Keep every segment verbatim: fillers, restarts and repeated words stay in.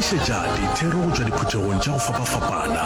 tlišetša dithero go tšwa diphuthegong tša go fapafapana.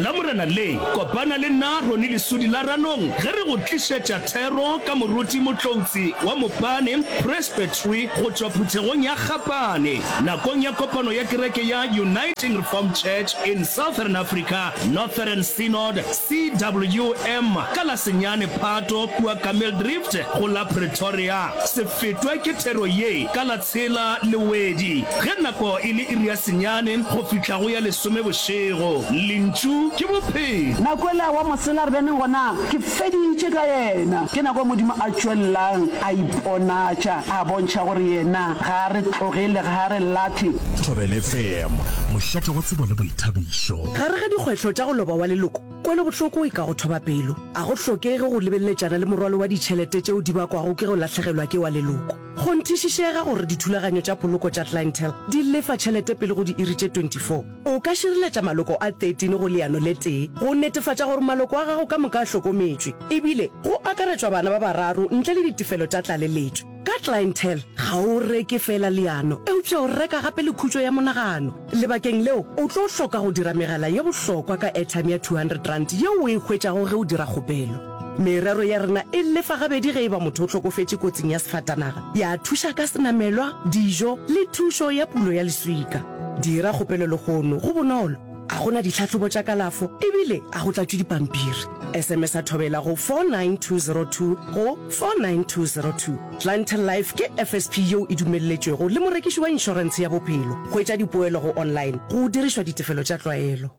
Lamorena le, kopana le nna Ronnie Lesudi la Ranong ge re go tlišetša thero ka Moruti Motloutsi wa Mopane Presbytery go tšwa phuthegong ya Gapane nakong ya kopano ya kereke ya Uniting Reformed Church in Southern Africa Northern Synod C W M ka la senyane Phato kua Kameeldrift go la Pretoria. Se fetwe ke thero ye ka la tshela Lewedi ge nako e le iri ya senyane go fihla go ya lesome bošego. Lentšu ke bophelo. Nako ela wa mosela re beneng gona, ke feditše ka yena. Ke nako Modimo a tšwelelang a iponatša, a bontšha gore yena ga a re tlogele, ga a re lahle. Thobela F M, mošate wa tsebo le boithabišo. Gare ga dikgwetlho tša go loba wa leloko, kwelobohloko e ka go thoba pelo. A go hlokege go lebeleletšana le morwalo wa ditšhelete tšeo di bakwago ke go lahlegelwa ke wa leloko. Kgonthišišega gore dithulaganyo tša poloko tša Clientele di lefa tšhelete pele go diiri tše twenty-four. O ka šireletša maloko a thirteen go leano le tee go netefatša gore maloko a gago ka moka a hlokometšwe, ebile go akaretšwa bana ba bararo ntle le ditefelo tša tlaleletšo. Ka Clientele, ga o reke feela leano, eupša o reka gape le khutšo ya monagano. Lebakeng leo, o tlo hloka go dira megala ye bohlokwa ka airtime ya two hundred rand yeo o e hwetšago ge o dira kgopelo. Merero ya rena e lefa gabedi ge e ba motho o hlokofetše kotsing ya sefatanaga, ya thuša ka senamelwa, dijo le thušo ya pulo ya leswika. Dira kgopelo lehono, go bonolo, a go na ditlhahlobo tša kalafo ebile a go tlatšwe dipampiri. S M S a Thobela go four nine two zero two go four nine two zero two. Clientele Life ke F S P yeo e dumelletšwego le morekiši wa inšorentshe ya bophelo. Hwetša dipoelo go online go dirišwa ditefelo tša tlwaelo.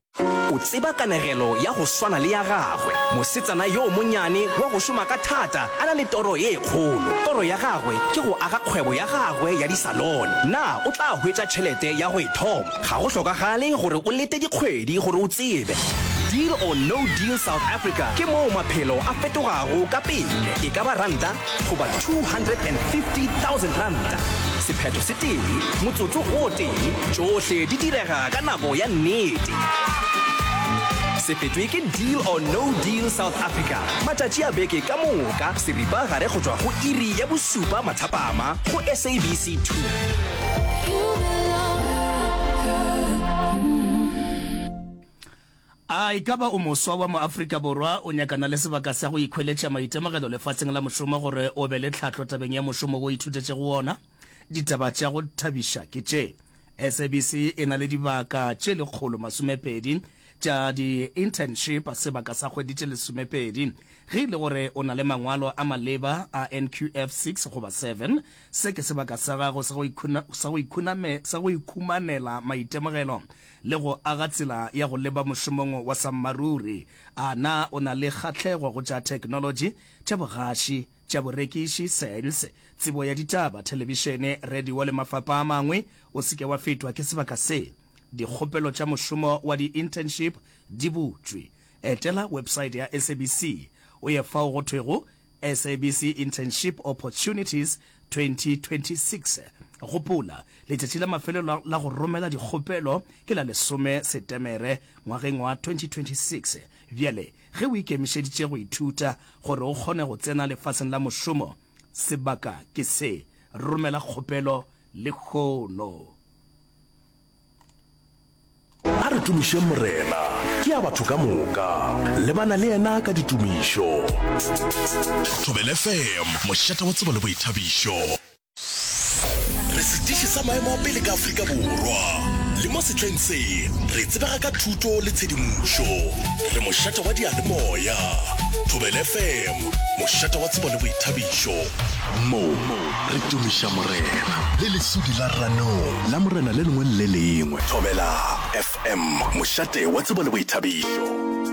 O tseba kanegelo ya go swana le ya gagwe, mosetsana yo monyane wa go šoma ka thata a na le toro ye kgolo. Toro ya gagwe ke go aga kgwebo ya gagwe ya disalone. Na o tla hwetša tšhelete ya go e thoma? Ga go hlokagale gore o lete dikgwedi gore o tsebe. Deal or No Deal South Africa ke moo maphelo a fetogago ka pele, e ka ba ranta goba two hundred and fifty thousand ranta. Sephetho se tee, motsotso o tee, tšohle di direga ka nako ya nnete. Se fetwe ke Deal or No Deal South Africa matšatši a beke ka moka seripa gare go tšwa go iri ya bosupa mathapama go S A B C two. A e ka ba o moswa wa mo-Afrika Borwa o nyakana le sebaka sa go ikhweletša maitemogelo lefaseng la mošomo gore o be le tlhahlo tabeng ya mošomo wo o ithutetšego wona? Ditaba tša go thabiša ke tše, S A B C e na le dibaka tše lekgolo masomepedi tša di-internship sebaka sa kgwedi tše lesomepedi. Ge e le gore o na le mangwalo a maleba a N Q F six goba seven, se ke sebaka sa gago sa go ikhumanela maitemogelo le go aga tsela ya go leba mošomong wa sammaruri. A na o na le kgahlego go tša theknolotši, tša bogaši, tša borekiši, sales, tsebo ya ditaba, thelebišene, radio le mafapa a mangwe? O se ke wa fetwa ke sebaka se. Dikgopelo tša mošomo wa di-internship di butšwe. Etela website ya S A B C o ye fao go thwego S A B C Internship Opportunities twenty twenty-six. Gopola, letšatši la mafelelo la go romela dikgopelo ke la lesome Setemere ngwageng wa twenty twenty-six. Bjale ge o ikemišeditše go ithuta gore o kgone go tsena lefaseng la mošomo, sebaka ke se. Romela kgopelo lehono. A re tumišeng Morena, ke ya batho ka moka. Lebana le yena ka ditumišo. Thobela F M, mošate wa tsebo le boithabišo. Re setiši sa maemo a pele ka Afrika Borwa. Le mo sehleng se, re tsebega ka thuto le tshedimošo. Re mošate wa diyalemoya. Thobela F M, mošate wa tsebo le boithabišo. Mo re tumiša Morena le lesudi la Ranong la Morena le lengwe le le lengwe. Thobela F M, mošate wa tsebo le boithabišo.